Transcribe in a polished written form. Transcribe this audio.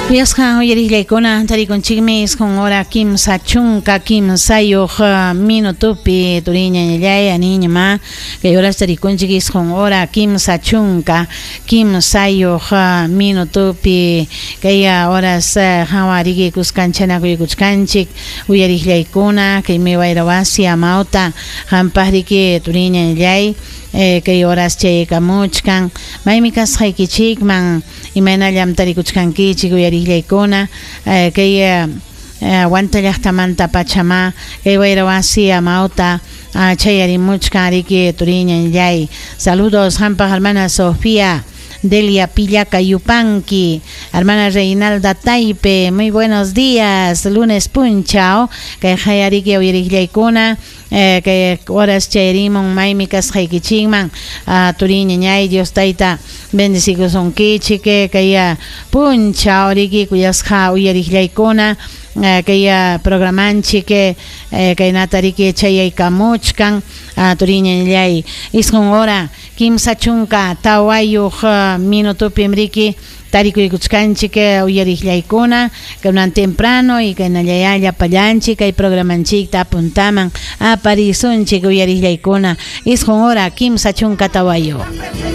Kuyasqa uyariqllaykuna tarikunchikmi isqun hora 33 minutopi turiñañallay aniñama kay horas tarikunchik isqun hora 33 minutopi kay horas hawa riki kuskanchakuykuchkanchik uyariqllaykuna kaymi wayra wasi amawta qampaq riki turiñañallay kay horas chaykamuchkan maymi kasqaykichikman imaynallam tarikuchkankichik uyariqllaykuna kay Huanta llaqtamanta pachama kay wayra wasi amawta chayarimuchkan riki turiñañallay saludos qampaq hermana Sofía Delia Pillaca Yupanqui, hermana Reinalda Taipe, muy buenos días, lunes punchao, kay hayariki uyariqllaykuna, kay horas chayarimun maymi kasqaykichikman, turiñañay Dios tayta bendecikusunkichik, kay punchao riki kuyasqa uyariqllaykuna, kay programanchik kaynata riki chayaykamuchkan, turiñañallay isqun hora 34 minutopim riki tarikuykuchkanchik uyariqllaykuna kunan temprano y kaynallayá llapallanchik kay programanchikta apuntaman aparisunchik uyariqllaykuna isqun hora 34.